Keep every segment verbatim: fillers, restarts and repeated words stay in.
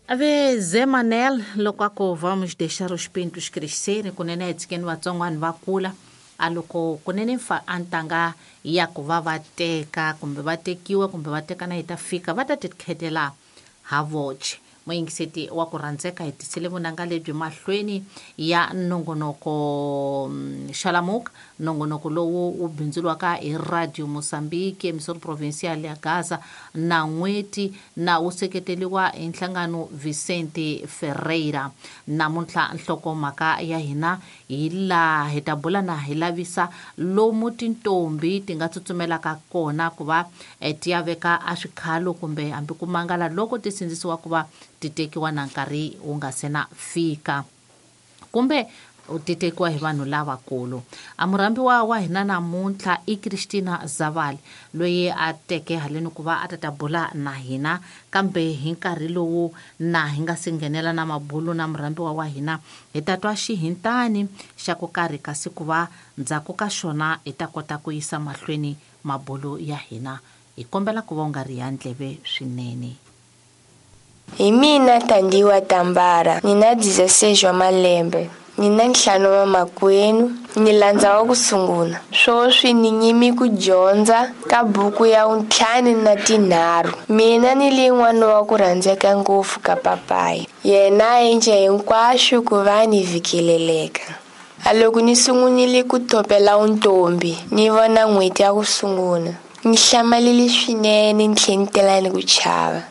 Ave Zé Manel loko a ku vamos deixar os pintos crescerem kunene hi tshikeni vatsongwana va kula a loko kunene fa a ntanga ya ku va va teka kumbe va tekiwa kumbe va tekana yi ta fika va ta ti khetela ha voce. Muyingiseti wa ku rhandzeka hi tisile vunanga lebyi mahlweni ya nongonoko Xalamuka, nongonoko lowu wu bindzuriwaka hi Radio Mozambique emisoro provincial ya Gaza na n'weti na wu seketeriwa hi nhlangano Vicente Ferreira. Namuntlha nhlokomhaka ya hina hi laha hi ta bula na hi lavisa lomu tintombi ti nga tsutsumelaka kona ku va ti ya veka a swikhalo kumbe hambi ku mangala loko ti sindzisiwa ku va ti tekiwa na nkarhi wu nga se na fika kumbe ti tekiwa hi vanhu lavakulu. A murhambiwa wa hina namuntlha i Christina Zavali loyi a teke haleni ku va a ta ta bula na hina, kambe hi nkarhi lowu na hi nga si nghenela na mabulu na murhambiwa wa hina hi ta twa xihintani xa ku karhi kasi ku va ndzhaku ka xona hi ta kota ku yisa mahlweni mabulu ya hina. Hi kombela ku va u nga ri ya ndleve swinene. Hi mina Thandiwe Tambara, ni na dezesseis wa malembe, ni na ntlhanu wa makwenu, ni landza wa ku sungula. Swoswi ni nyimi ku dyondza ka buku ya ntlhanu na tinharhu. Mina ni lin'wana wa ku rhandzeka ngopfu ka papayi. Yena a endla hinkwaswo ku va ni vhikeleleka. A loko ni sungunile ku topela untombi, ni vona n'hweti ya ku sungula. Ni hlamalile swinene ni tlhela ni tela ni ku chava.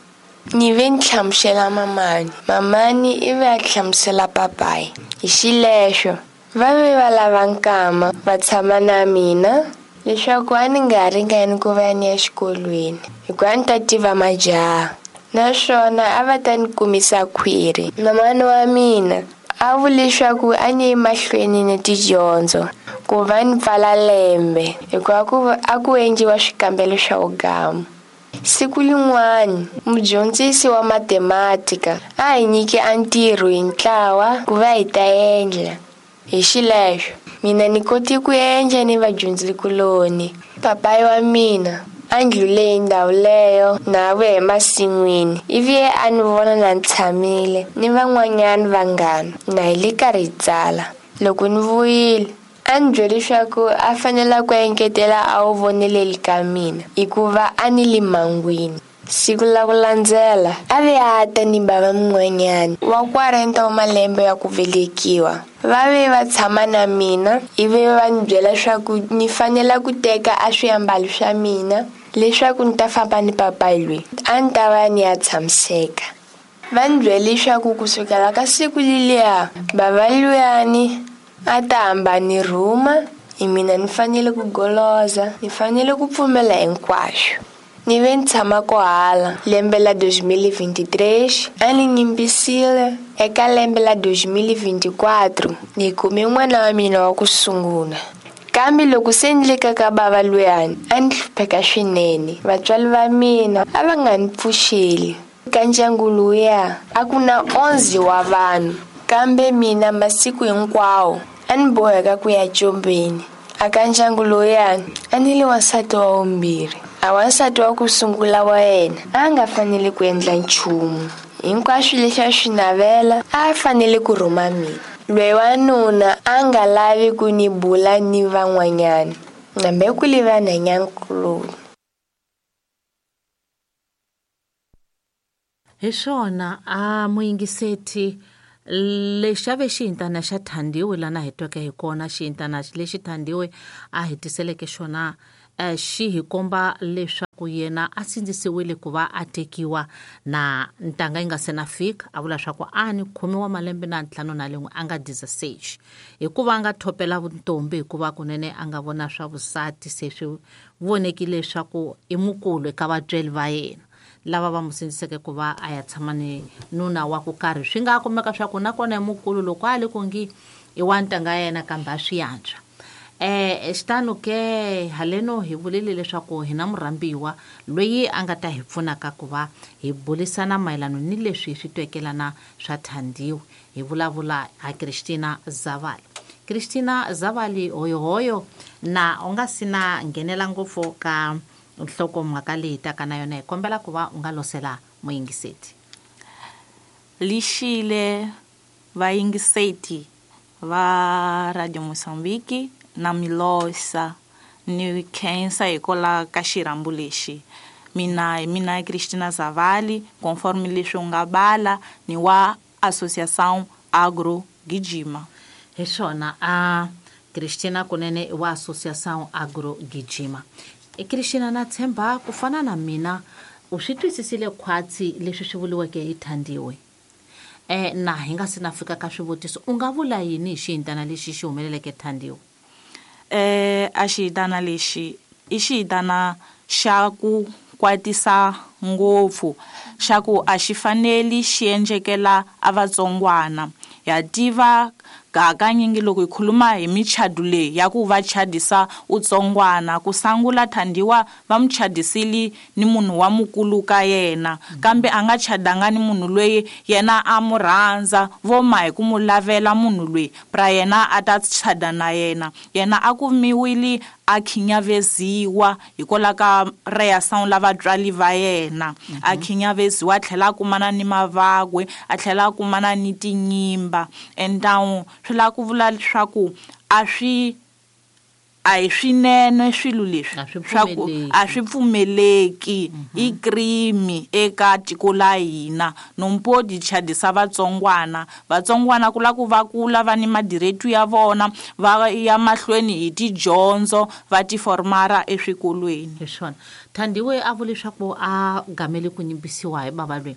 Ni ve ni hlamusela mamani, mamani i ve a hlamusela papayi. Hi xilexo va ve va lava nkama va tshama na mina leswaku a ni nga ringani ku va ni ya xikolweni hikuva a ni ta tiva majaha naswona a va ta ni kumisa khwiri. Mamani wa mina a vule leswaku a ni yi mahlweni ni tidyondzo ku va ni pfala lembe hikuva ku a ku endliwa swikambelo swa vugamu. Siku lin'wana mudyondzisi wa matematika a hi nyike a ntirho hi ntlawa ku va hi ta endla. Hi xilexo mina ni koti ku endla ni vadyondzikuloni. Papayi wa mina a ndlhule hi ndhawu leyo na vuya emasin'wini ivi a ni vona na ni tshamile ni van'wanyana vanghana na hi le karhi hi tsala. Loko ni vuyile a ni byele leswaku a fanele ku engetela a wu voneleli ka mina hikuva a ni le mangwini. Siku la ku landzela a ve a ta ni bava mun'wanyana wa quarenta wa malembe ya ku velekiwa. Va ve va tshama na mina ivi va ni byela leswaku ni fanele ku teka a swiambalo swa mina leswaku ni ta famba ni papayi loyi a ni ta va ni ya tshamiseka. Va ni byele leswaku kusukela ka siku leliya bava luyani a ta hamba ni rhuma hi mina ni fanele ku goloza, ni fanele ku pfumela hinkwaswo. Ni ve ni tshama kohala lembe la dois mil e vinte e três a ni nyimbisile eka lembe la dois mil e vinte e quatro ni kume n'wana wa mina wa ku sungula. Kambe loko se ni le ka ka bava luyani a ni hlupheka swinene. Vatswari va mina a va nga ni pfuxeli. Ka ndyangu lowuya a ku na onze wa vanhu, kambe mina masiku hinkwawo a ni boheka ku ya combeni. Aka ndyangu lowuyani a ni le wansati wa vumbirhi. A wansati wa ku sungula wa yena a nga fanele ku endla nchumu. Hinkwaswo leswi a swi navela a fanele ku rhuma mina. Loyi wanuna a nga lavi ku ni bula ni van'wanyana nambe ku li vanhwanyankuloni. Hi swona a muyingiseti lexi a ve xihintana xa Thandiwe lana hi tweke hi kona. Xihintana lexi Thandiwe a hi tiseleke xona xi hi komba leswaku yena a sindzisiwile ku va a tekiwa na ntanga yi nga se na fika. A vula swa ku a ni khume wa malembe na ntlhanu na lin'we a nga dezesseis hikuva a nga thopela vuntombi hikuva kunene a nga vona swa vusati se swi vonekile leswaku i mukulu eka vatswari va yena lava va mu sindziseke ku va a ya tshama ni nuna wa ku karhi. Swi nga kumeka swa ku nakona i mukulu loko a le ku ngi i wa ntanga ya yena kambe a swi antswa. Eh xitano ke haleno hi vulile leswaku hi na murhambiwa loyi a nga ta hi pfunaka ku va hi bulisana mayelana ni leswi hi swi twekelana swa Thandiwe. Hi vulavula ha Christina Zavali. Christina Zavali hoyohoyo na u nga si na nghenela ngopfu ka nhlokomhaka leyi taka na yona, hi kombela ku va u nga losela muyingiseti. Lixile vayingiseti va Radio Mozambique na Milosa ni khensa hikwalaho ka xirhambo lexi. Mina hi mina Cristina Zavali, conforme leswi u nga bala, ni wa Associação Agro Gijima. Hi swona a Cristina kunene wa Associação Agro Gijima. E Cristina, na tshemba ku fana na mina u swi twisisile khwatsi leswi swi vuriweke hi Thandiwe. Eh na hi nga se na fika ka swivutiso, u nga vula yini hi xihintana lexi xi humeleleke Thandiwe? Eh a xihintana lexi i xihintana xa ku kwatisa ngopfu, xa ku a xi faneli xi endlekela a vatsongwana. Ya tiva hakanyingi loko hi khuluma hi michadu leyi ya ku va chadisa utsongwana, ku sangula Thandiwa va mu chadisile ni munhu wa mukulu ka yena, kambe a nga chadanga ni munhu loyi yena a mu rhandza, vo ma hi ku mu lavela munhu loyi pra yena a ta chada na yena. Yena a kumiwile a khinyaveziwa hikwalaho ka reação la vatswari va yena, a khinyaveziwa a tlhela a kumana ni mavagwe, a tlhela a kumana ni tinyimba. Então swi lava ku vula leswaku a swi a hi swinene swilo leswi, swa ku a swi pfumeleki, i crime eka tiko la hina. No pode chadisa vatsongwana, vatsongwana ku lava ku va kula va ni madiretu ya vona, va ya mahlweni hi tidyondzo, va ti formara eswikolweni. Hi swona Thandiwe a vula leswaku a gamele ku nyimbisiwa hi bava loyi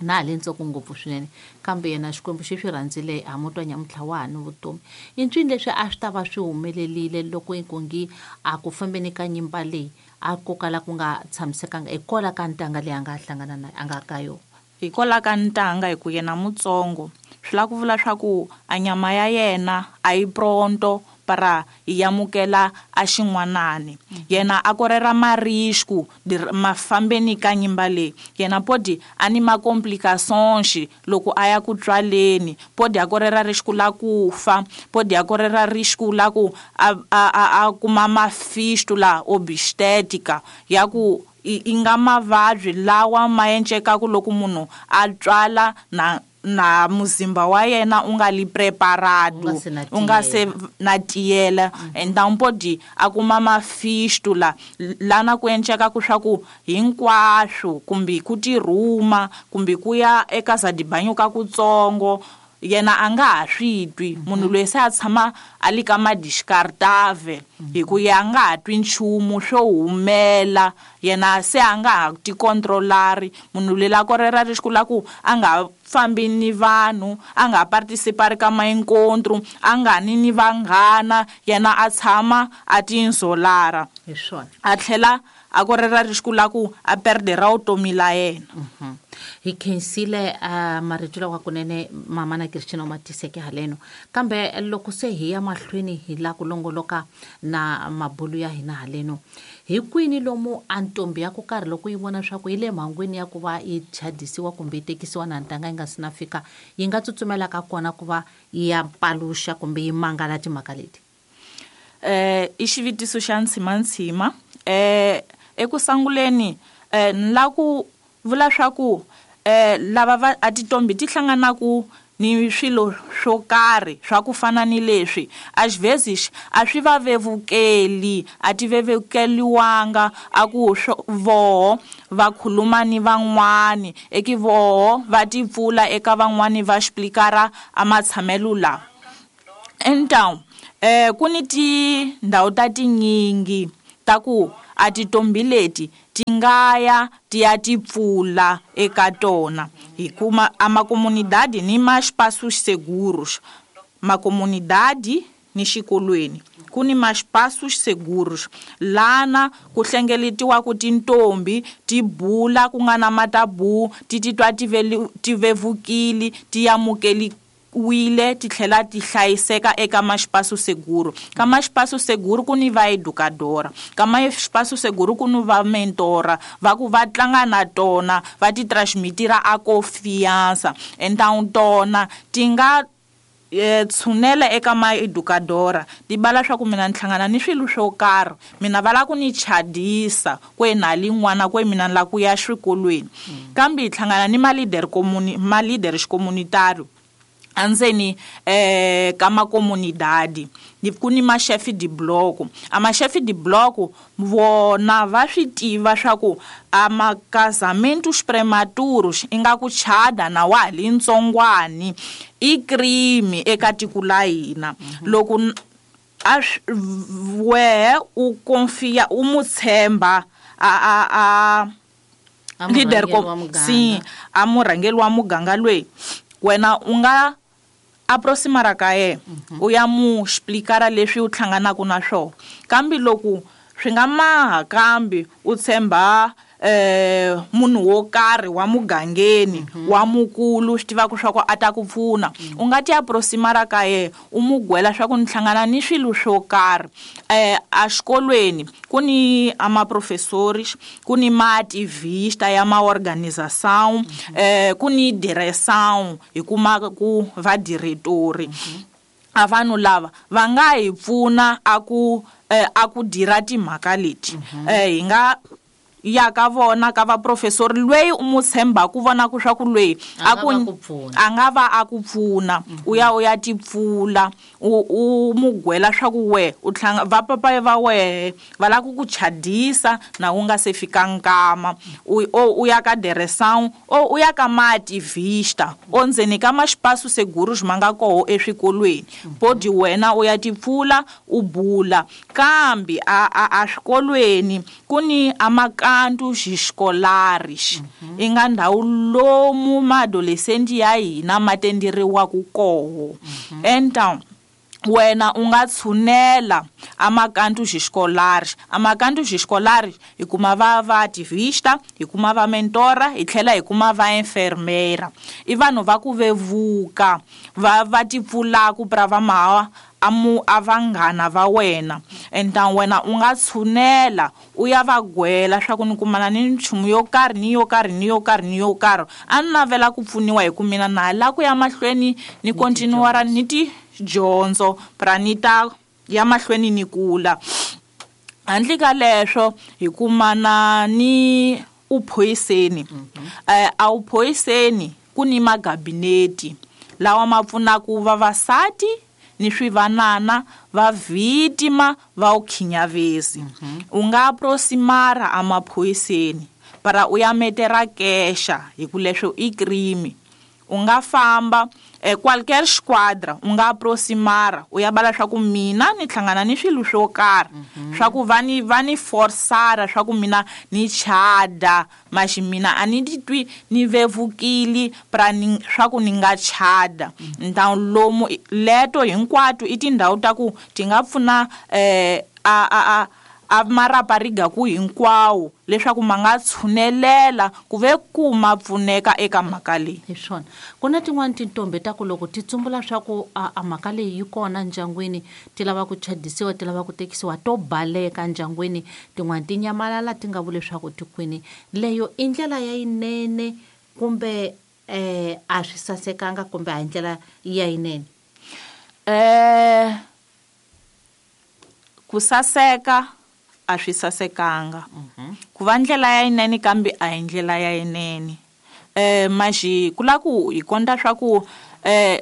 na ha le ntsongo ngopfu swinene, kambe yena Xikwembu xi swi rhandzile a mu twa nyamuntlha wa ha ni vutomi. I ncini leswi a swi ta va swi humelerile loko inkungi a ku fambeni ka nyimba leyi a ko kala ku nga tshamisekanga hikwalaho ka ntanga leyi a nga hlangana na a nga ka yona? Hikwalaho ka ntanga, hi ku yena mutsongo, swi lava ku vula swa ku a nyama ya yena a yi pronto para yi amukela a xin'wanani. Yena a korera marisku mafambeni ka nyimba leyi. Yena podi a ni ma complications loko a ya ku tswaleni, podi a korera risku la ku fa, podi a korera risku la ku a a a kuma mafistula obstétrica ya ku i nga mavabyi lawa ma endlekaka loko munhu a tswala na na muzimba wa yena u nga li preparado, u nga se na tiyela. Então podi a kuma mafistula lana ku endleka ku swa ku hinkwaswo, kumbe ku tirhuma, kumbe ku ya eka za dibanyo ka kutsongo, yena a nga ha swi twi. Munhu loyi se a tshama a li ka madiscartave, hi ku ya nga ha twi nchumu swo humela, yena se a nga ha ti controlari. Munhu loyi la korera risku la ku a nga fambi ni vanhu, a nga participari ka mainkontro, a nga ni ni vanghana, yena a tshama a tinzolara. Hi swona a tlhela a korera risku la ku a perdera vutomi la yena. Hi khensile uh, marito lawa kunene mama na Cristina u ma tiseke haleno, kambe loko se hi ya mahlweni hi la ku longoloka na mabulu ya hina haleno, hi kwini lomu a ntombi ya ku karhi loko yi vona swa ku yi le mhangwini ya ku va yi chadisiwa kumbe yi tekisiwa na ntanga yi nga si na fika, yi nga tsutsumelaka kona ku va yi ya paluxa kumbe yi mangala timhaka leti? Eh i xivutiso xa ntshimantsima. Eh eku sunguleni eh ni la ku vula swa ku eh lava va a titombi ti hlanganaku ni swilo swo karhi swa ku fana ni leswi, às vezes a swi va vevukeli, a ti vevukeliwanga a ku voho va khuluma ni van'wani, eki voho va ti pfula eka van'wani va explikara a matshamelo lawa. Então eh ku ni tindhawu ta tinyingi ta ku a titombi leti ti nga ya ti ya ti pfula eka tona, hi kuma a makomunidade ni ma espaços seguros, makomunidade ni xikolweni ku ni ma espaços seguros lana ku hlengeletiwa ku tintombi ti bula ku nga na matabu, ti titwa ti ti vevukile, ti amukeli wile, ti tlhela ti hlayiseka eka ma espaço seguro. Ka ma espaço seguro ku ni va educadora, ka ma espaço seguro ku ni va mentora, va ku va tlanga na tona, va ti transmitira a confiança. Então tona ti nga tshunela eka ma educadora ti bala swa ku mina ni hlangana ni swilo swo karhi mina va la ku ni chadisa kwe na lin'wana kwe mina ni la ku ya xikolweni kambe hi hlangana ni ma leader comuni ma leader comunitario andzeni eh ka ma comunidade ni ku ni ma chef de bloco a ma chef de bloco vona va swi tiva swa ku a ma casamentos prematuros inga ku chada na wa li ntsongwani i crime eka tiko la hina loko a we u confia u mutshemba a a a leader ko si a murhangeri wa muganga loyi wena u nga aproximara ka yena u ya mu explicar leswi u hlanganaka na swona kambe loko swi nga maha kambe u tshemba eh munhu wo karhi wa mugangeni wa mukulu swi tivaka swa ku a ta ku pfuna u nga ti aproximara ka yena u mu gwela swa ku ni hlangana ni swilo swo karhi eh a xikolweni ku ni ama professores ku ni ma ativista ya ma organização eh ku ni direção hi kuma ku va diretori a vanhu lava va nga hi pfuna a ku a ku dira timhaka leti eh hi nga ya ka vona ka va professor loyi u mu tshemba ku vona ku swa ku loyi a ku a nga va a ku pfuna u ya u ya tipfula u u mugwela swa ku we u tlhanga va papa va we va la ku ku chadisa na u nga se fika nkama u u ya ka direção o u ya ka ma ativista o ndzeni ka maspaço seguros ma nga koho eswikolweni podi wena u ya tipfula u bula kambe a a swikolweni ku ni amaka cantos escolares i nga ndhawu lomu maadolescente ya hina ma tenderiwaka koho então wena u nga tshunela amacantos escolares amacantos escolares hi kuma va va ativista hi kuma va mentora hi tlhela hi kuma va enfermeira i vanhu va ku vevuka va va tipfulaku pra va mawa amu avanghana va wena então wena u nga tshunela u ya va gwela swa ku ni kumana ni nchumu yo karhi ni yo karhi ni yo karhi ni yo karhi a ni navela ku pfuniwa hi ku mina na la ku ya mahlweni ni continuara ni ti dyondzo pra ni ta ya mahlweni ni kula handle ka leswo hi kumana ni uphoyiseni eh a uphoyiseni ku ni magabineti lawa ma pfunaka vavasati ni swivanana va vítima va ukhinyavezi u nga aproximara amaphoyiseni para u ya metera kexa hi ku leswo i crime u nga famba eh, qualquer esquadra u nga aproximara u ya bala swa ku mina ni hlangana ni swilo swo karhi swa ku va ni va ni forsara swa ku mina ni chada maxi mina a ni titwi ni vevukile pra ni swa ku ni nga chada então lomu leto hinkwato i tindhawu ta ku ti nga pfuna eh, a a a a marapariga ku hinkwawo leswaku ma nga tshunelela ku ve ku ma pfuneka eka mhaka leyi hi swona ku na tin'wani tintombi ta ku loko ti tsumbula swa ku a, a mhaka leyi yi kona ndyangwini ti lava ku chadisiwa ti lava ku tekisiwa to baleka ndyangwini tin'wani ti nyamalala ti nga vuli leswaku ti kwini leyo i ndlela ya yinene kumbe eh, a swi sasekanga kumbe a hi ndlela ya yinene eh ku saseka a swi sasekanga ku va ndlela ya yinene kambe a hi ndlela ya yinene eh maxi ku la ku hi konta swa ku eh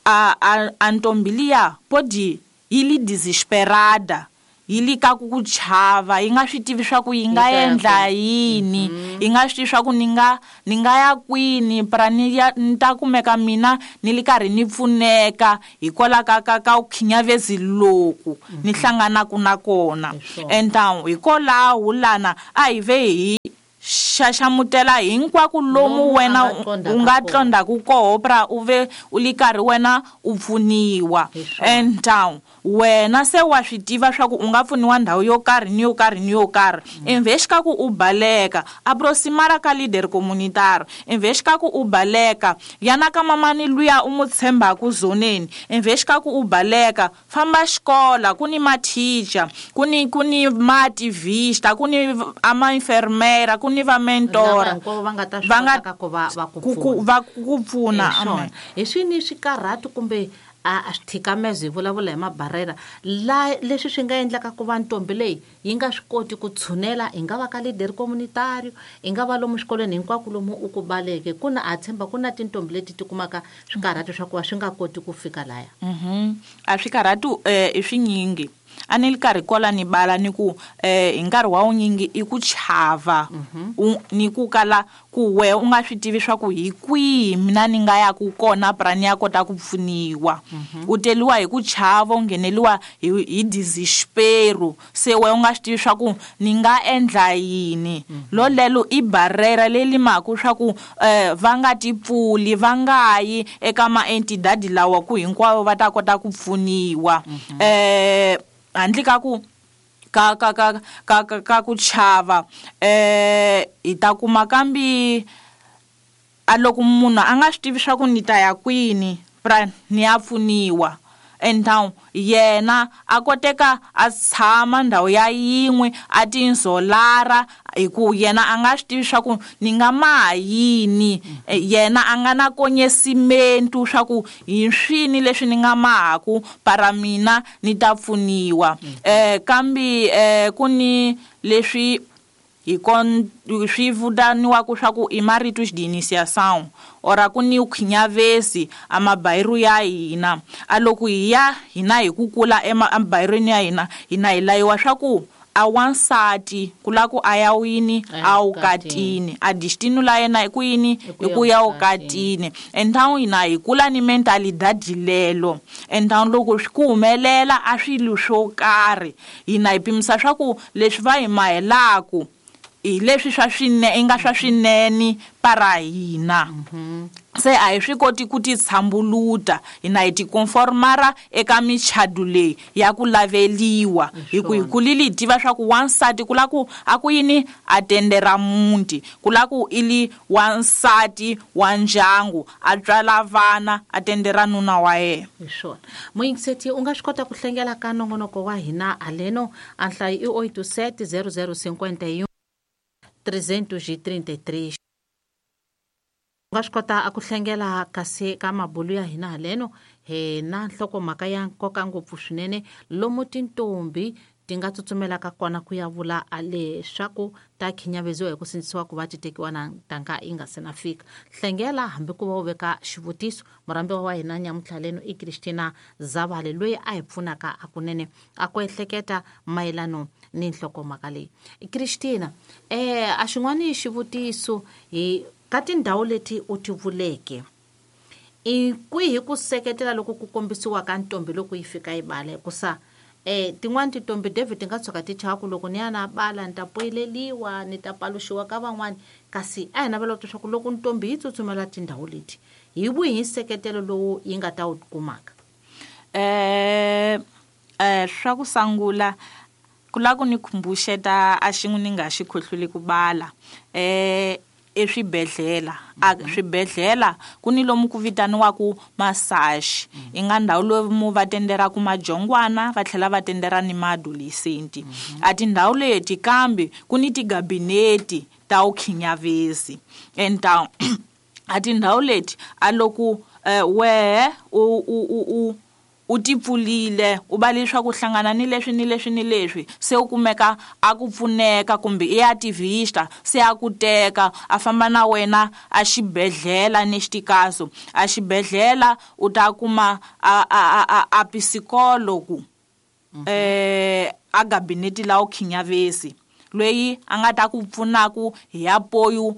a a a ntombi liya podi yi li desesperada yi li ka ku ku chava yi nga swi tivi swa ku yi nga endla yini yi nga swi tivi swa ku ni nga ni nga ya kwini pra ni ya ni ta kumeka mina ni li karhi ni pfuneka hikwalaho ka ka ka ukhinyavezi loku ni hlanganaka na kona então hikwalaho lana a hi ve hi xaxamutela hinkwako lomu wena u nga tlondaku koho pra u ve u li karhi wena u pfuniwa então wena se wa swi tiva swa ku u nga pfuniwa ndhawu yo karhi ni yo karhi ni yo karhi invest ka ku u baleka aproximara ka leader communitario invest ka ku u baleka yana ka mamani luya u mu tshembaku zoneni invest ka ku u baleka famba xikola ku ni mathicha ku ni ku ni mativista ku ni ama enfermera ku ni va mentora va nga ta swi kota ku va va ku pfuna va ku pfuna hi swini swikarhati kumbe a swithikamezo hi vulavula hi mabarera la leswi swi nga endlaka ku va ntombi leyi yi nga swi koti ku tshunela hi nga va ka leader communitario hi nga va lomu xikolweni hinkwako lomu u ku baleke ku na a tshemba ku na tintombi leti ti kumaka swikarhati swa ku va swi nga koti ku fika laya. Mhm a swikarhati eh i swinyingi a ni li karhi kola ni bala ni ku eh hi nkarhi wa wunyingi i ku chava ni ku kala ku we u nga swi tivi swa ku hi kwihi mina ni nga ya ku kona pra ni ya kota ku pfuniwa. U teliwa hi ku chava u ngheneliwa hi hi desespero se we u nga swi tivi swa ku ni nga endla yini. Lolelo i barrera leyi maku swa ku eh va nga ti pfuli va nga yi eka ma entidade lawa ku hinkwavo va ta kota ku pfuniwa. Eh handle ka ku ka ka ka ka ka ku chava eh hi ta kuma kambi a loko munhu a nga swi tivi swa ku ni ta ya kwini pra ni ya pfuniwa and yena a koteka a tshama ndhawu ya yin'we a tinzolara hi ku yena a nga swi tivi swa ku ni nga maha yini. Yena a nga na konyesimento swa ku hi swini leswi ni nga mahaku para mina ni ta pfuniwa. Eh kambi eh ku ni leswi hi kon swi vitaniwaka swa ku i maritos de iniciação ora ku ni ukhinyavesi a mabayiru ya hina a loko hi ya hina hi ku kula emabayirweni ya hina hina hi layiwa swa ku a wansati ku la ku a ya wini a wukatini a destino la yena hi ku yini hi ku ya wukatini. Endhawu hina hi kula ni mentalidade lelo endhawu loko swi ku humelela a swilo swo karhi hina hi pimisa swa ku leswi va hi mahelaku hi leswi swa swinene i nga swa swinene para hina. Se a hi swi koti ku ti tshambuluta hina hi ti conformara eka michadu leyi ya ku laveliwa hi ku hi kulile hi tiva swa ku wansati ku la ku a ku yini a tendera muti ku la ku i li wansati wa ndyangu a tswala vana a tendera nuna wa yena. Hi swona muyingiseti u nga swi kota ku hlengela ka nongonoko wa hina aleno a nhlayo i oito sete zero zero cinquenta e um trezentos e trinta e três. U nga swi kota a ku hlengela kasi ka mabulu ya hina haleno hi na nhlokomhaka ya nkoka ngopfu swinene lomu tintombi ti nga tsutsumelaka kona ku ya vula a leswaku ta khinyaveziwa hi ku sindzisiwa ku va ti tekiwa na ntanga yi nga se na fika. Hlengela hambi ku va u veka xivutiso murhambiwa wa hina nyamuntlha leno i Christina Zavale loyi a hi pfunaka hakunene a ku ehleketa mayelano ni nhlokomhaka leyi. Christina eh a xin'wani xivutiso hi ka tindhawu leti u ti vuleke i kwihi ku seketela loko ku kombisiwa ka ntombi loko yi fika yi bala hikusa eh tin'wani tintombi David ti nga tshuka ti chava ku loko ni ya na bala ni ta poyileliwa ni ta paluxiwa ka van'wani kasi a hi navela ku twa ku loko ntombi yi tsutsumela tindhawu leti hi wihi nseketelo lowu yi nga ta wu kumaka? Eh eh swa ku sungula ku la ku ni khumbuxeta a xin'we ni nga xi khohlweli ku bala eh eswibedhlele a swibedhlele ku ni lomu ku vitaniwaku massage i nga ndhawu lomu va tenderaku majongwana va tlhela va tendera ni maadolescent. A tindhawu leti kambe ku ni tigabineti ta ukhinyavesi enta a tindhawu leti a loko wehe u u u u ti pfulile u va leswaku hlangana ni leswi ni leswi ni leswi se u kumeka a ku pfuneka kumbe i ya tivista se a ku teka a famba na wena a xibedhlele ni xitikaso a xibedhlele u ta kuma a a a a psikologo eh a gabineti la ukhinyavesi loyi a nga ta ku pfunaku hi apoio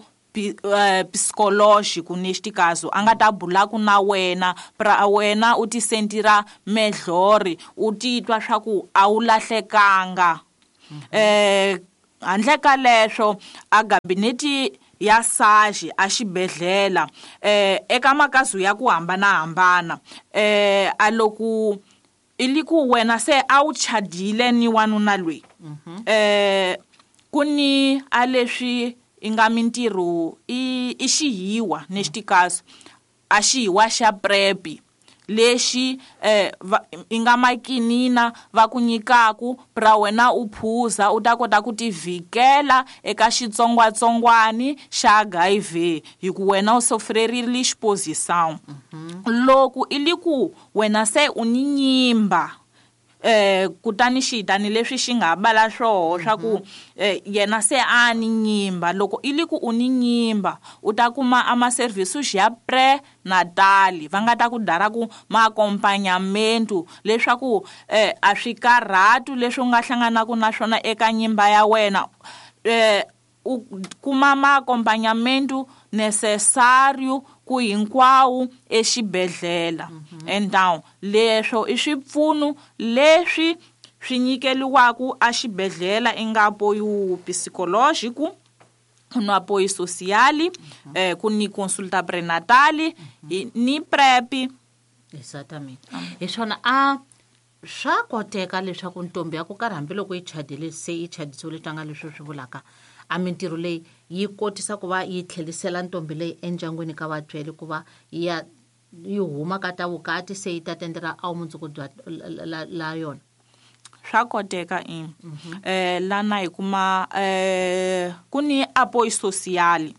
psicológico neste caso a nga ta bulaku na wena pra wena u ti sentira melhor u titwa swa ku a wu lahlekanga. Eh handle ka leswo a gabineti ya SAGE a xibedhlele eh eka makazu ya ku hambanahambana eh a loko i li ku wena se a wu chadile ni wanuna loyi eh ku ni a leswi i nga mintirho i i xihiwa neste caso a xihiwa xa PrEP lexi eh i nga makinina va ku nyikaku pra wena u phuza u ta kota ku tivikela eka xitsongwatsongwani xa H I V hi ku wena u sofrerile exposição. Loko i li ku wena se u ni nyimba eh kutani xitani leswi xi nga bala swoho swa ku yena se a ni nyimba loko i li ku u ni nyimba u ta kuma ama services ya pre-natal va nga ta ku dara ku ma accompagnamento leswaku eh a swi karhatu leswi u nga hlanganaka na swona eka nyimba ya wena eh u kuma ma accompagnamento necessario ku hinkwawo exibedhlele. Então leswo i swipfuno leswi swi nyikeliwaku a xibedhlele i nga apoio psicológico, no apoio social, eh, ku ni consulta prenatal, ni PrEP. Exatamente. Hi swona a swa koteka leswaku ntombi ya ku karhi hambiloko yi chadile se yi chadisiwile tlanga leswi swi vulaka a mintirho leyi yi kotisa ku va yi tlhelisela ntombi leyi endyangwini ka vatswari ku va ya yi huma ka ta vukati se yi ta tendela a mundzuku bya la, la yona. Swa koteka i eh lana hi kuma eh ku ni apoio social.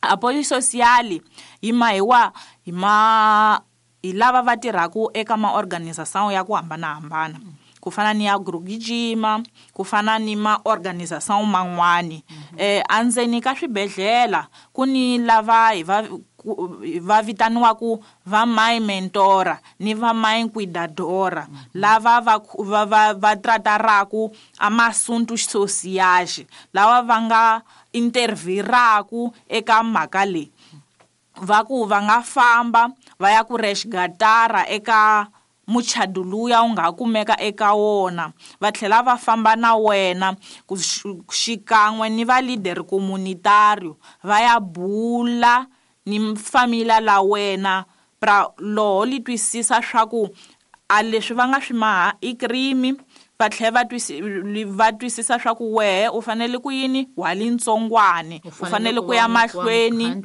Apoio social yi mahiwa hi ma hi lava va tirhaku eka ma organization ya ku hambanahambana, ku fana ni ya Grugijima, ku fana ni ma organization man'wani. Eh andzeni ka swibedhlele ku ni lava hi va va vitaniwaku va my mentora ni va my cuidadora, lava va va va, va trataraku amasuntu sociais, lava va nga interviraku eka mhaka leyi. Va ku va nga famba va ya ku resgatara eka muchado luya u nga kumeka eka wona, va tlhela va famba na wena ku xikan'we ni va leader communitario va ya bula ni familia la wena pra loho li twisisa swa ku a leswi va nga swi maha i crime, va tlhela va twisi va twisisa swa ku wehe u fanele ku yini wa lintsongwane u fanele ku ya mahlweni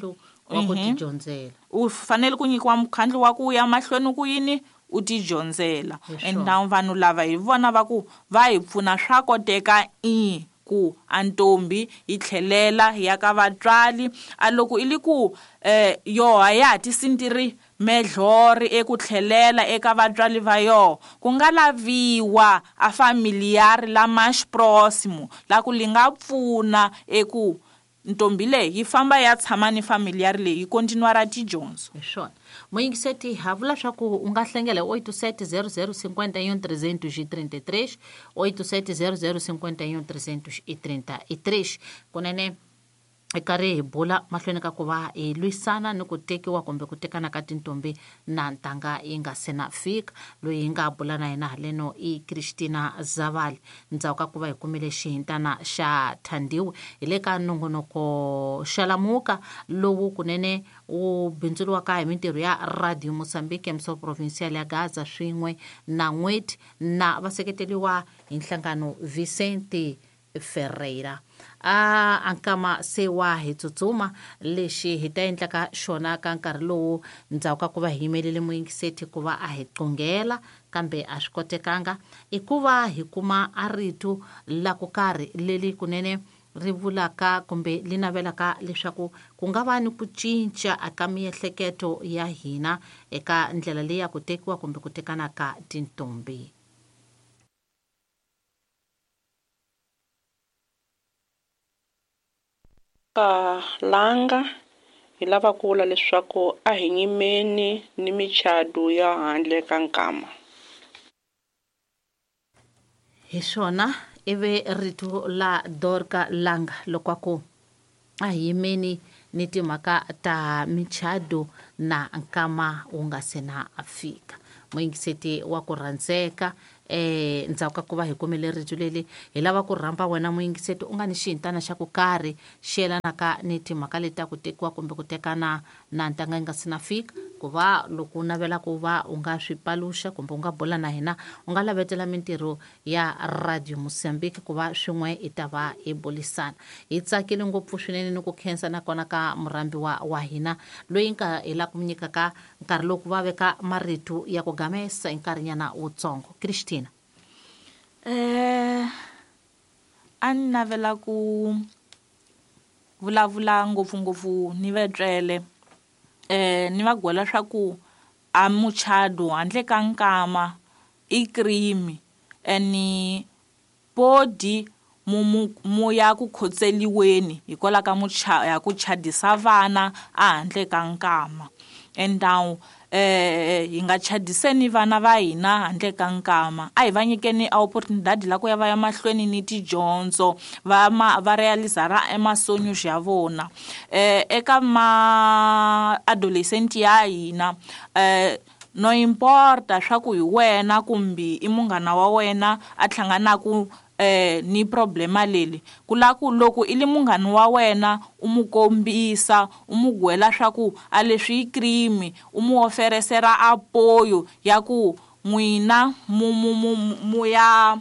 wa ku tidyondzela, u fanele ku nyikiwa mukhandlu wa ku ya mahlweni ku yini u tidyondzela. And vanhu lava hi vona va ku va hi pfuna swa koteka i ku antombi yi tlhelela ya ka vatswari a loko i li ku eh yoha ya tisintiri medlori eku tlhelela eka vatswari va yoho ku nga laviwa a familiar la mais próximo la ku li nga pfuna eku ntombi leyi yi famba ya tshama ni familiar leyi yi continua ra tidyondzo. Hi swona muyingiseti ha vula swa ku u nga hlengela oito sete zero zero cinquenta e um trezentos e trinta e três, oito sete zero zero cinquenta e um trezentos e trinta e três. Kunene hi karhi hi bula mahlweni ka ku va hi lwisana ni ku tekiwa kumbe ku tekana ka tintombi na ntanga yi nga se na fika. Loyi hi nga bula na yena haleno i Cristina Zavali ndzhaku ka ku va hi kumile xihintana xa Thandiwe hi le ka nongonoko Xalamuka lowu kunene wu bindzuriwaka hi mintirho ya Radio Mozambique Emissão Provincial ya Gaza swin'we na N'weti na vaseketeliwa hi nhlangano Vicente Ferreira. A ankama se wa hi tsutsuma lexi hi ta endlaka xona ka nkarhi lowu ndzhaku ka ku va hi yimelele muyingiseti ku va a hi qungela kambe a swi kotekanga i ku va hi kuma a rito la ku karhi leli kunene ri vulaka kumbe li navelaka leswaku ku nga va ni ku cinca eka miehleketo ya hina eka ndlela leyi ya ku tekiwa kumbe ku tekana ka tintombi. Ka langa hi lava ku vula leswaku a hi nyimeni ni michado ya handle ka nkama. Hi swona ivi rito la Dorka Langa loko ku a hi yimeni ni timhaka ta michado na nkama wu nga se na fika. Muyingiseti wa ku rhandzeka eh ndzhaku ka ku va hi kumile rito leli hi lava ku rhamba wena muyingiseti u nga ni xihintana xa ku karhi xi yelanaka ni timhaka leti ta ku tekiwa kumbe ku tekana na ntanga yi nga se na fika ku va loko u navela ku va u nga swi paluxa kumbe u nga bula na hina u nga lavetela mintirho ya Radio Mozambique ku va swin'we hi ta va hi bulisana. Hi tsakile ngopfu swinene ni ku khensa nakona ka murhambiwa wa hina loyi nga hi la ku nyikaka nkarhi lowu ku va veka marito ya ku gamesa hi nkarhinyana wutsongo. Cristina. Eh a ni navela ku vulavula ngopfungopfu ni vatswele eh ni va gwela swa ku a muchado handle ka nkama i crime eni podi mu mu ya ku khotseliweni hikwalaho ka mucha ya ku chadisa vana a handle ka nkama. And now eh hi nga chadiseni vana va hina handle ka nkama, a hi va nyikeni opportunity la ku ya va ya mahlweni ni tidyondzo va ma va realizara emasonyo ya vona. Eh eka ma adolescent ya hina eh no importa swa ku hi wena kumbe i munghana wa wena a hlanganaku eh ni problema leli kula ku loko i li munghana wa wena u mu kombisa u mu gwela swa ku a leswi i crime u mu oferesera apoyo ya ku n'wina mu mu mu ya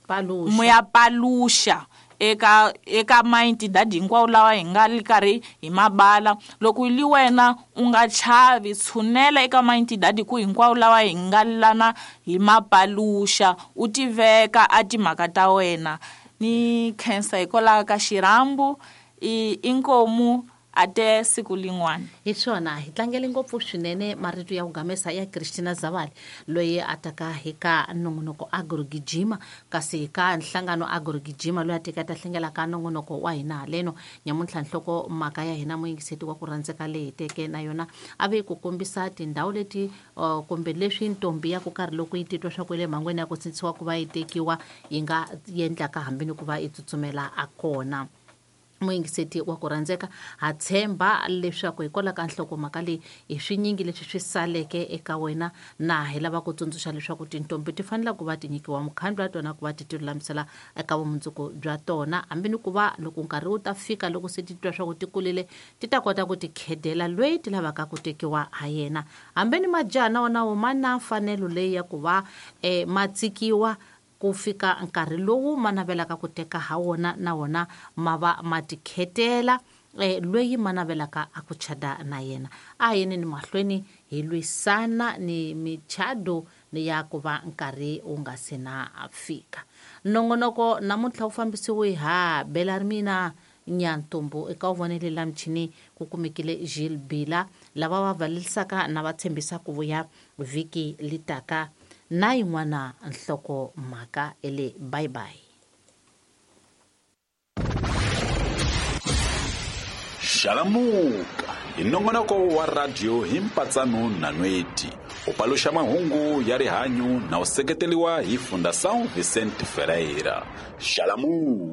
paluxa mu ya paluxa eka eka maentidadi hinkwawo lawa hi nga li karhi hi mabala. Loko li wena u nga chavi tshunela eka maentidadi ku hinkwawo lawa hi nga lana hi mapaluxa u tiveka a timhaka ta wena. Ni khensa hikwalaho ka xirhambo i inkomu ate siku lin'wana. Hi swona hi tlangele ngopfu swinene marito ya ku gamesa ya Christina Zavali loyi a taka hi ka nongonoko Agrogijima, kasi ka nhlangano Agrogijima loyi a teka ta hlengela ka nongonoko wa hina haleno nyamuntlha. Nhloko mhaka ya hina muyingiseti wa ku rhandzeka leyi teke na yona a ve ku kombisa tindhawu leti uh, kumbe leswi ntombi ya ku karhi loko yi titwa swa ku le mhangweni ya ku sindzisiwa ku va yi tekiwa yi nga endlaka hambi ni ku va yi tsutsumela a kona. Muyingiseti wa ku rhandzeka, ha tshemba leswaku hikwalaho ka nhlokomhaka leyi hi swinyingi leswi swi saleke eka wena, na hi lava ku tsundzuxa leswaku tintombi ti fanele ku va ti nyikiwa mukhandlu wa tona ku va ti ti lulamisela eka vumundzuku bya tona, hambi ni ku va loko nkarhi wu ta fika loko se ti twa swa ku ti kulile ti ta kota ku ti khedela loyi ti lavaka ku tekiwa ha yena. Hambi ni majaha na wona wo ma na mfanelo leyi ya ku va eh, ma tsikiwa ku fika nkarhi lowu ma navelaka ku teka ha wona na wona ma va ma tikhetela eh, loyi ma navelaka a ku chada na yena. A yeni ni mahlweni hi lwisana ni michado ni ya ku va nkarhi wu nga se na fika. Nongonoko namuntlha wu fambisiwe ha Belarmina Nyantombo eka wu vonele la michini ku kumekile Gilles Bila lava va valelisaka na va tshembisa ku vuya vhiki litaka na yin'wana nhloko mhaka ele. Bye bye. Xalamuka hi nongonoko wa radio hi mpatsano na nweti u paluxa mahungu ya rihanyu na u seketeriwa hi Fundação Vicente Ferreira. Xalamuka.